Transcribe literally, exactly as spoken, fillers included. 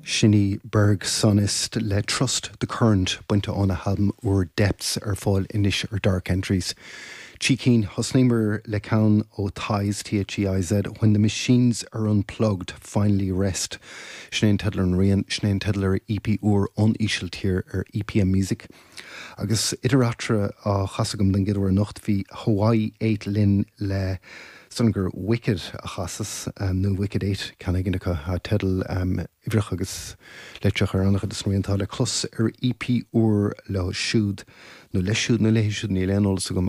Sin í Berg Sonist le Trust the Current bainte óna halbam úr Depths ar fáil anois ar Dark Entries. Trí cinn thosnaíomar le ceann ó Theiz THEIZ When the Machines Are Unplugged Finally Rest. Sin é an teideal ar an rian sin é an teideal ar EP úr ón Ísiltír ar EPM Music. Agus idir eatarthu á chasadh agam den gcéad uair anocht bhí Hawaii Eight linn le san gur Wicked a chasas um, nó Wicked Eight ceann éigin acu a teideal um, uimhreach agus litreach ar an-chuid is rianta le clos ar EP úr leo siúd nó leis siúd nó léi siúd níl aon eolas agam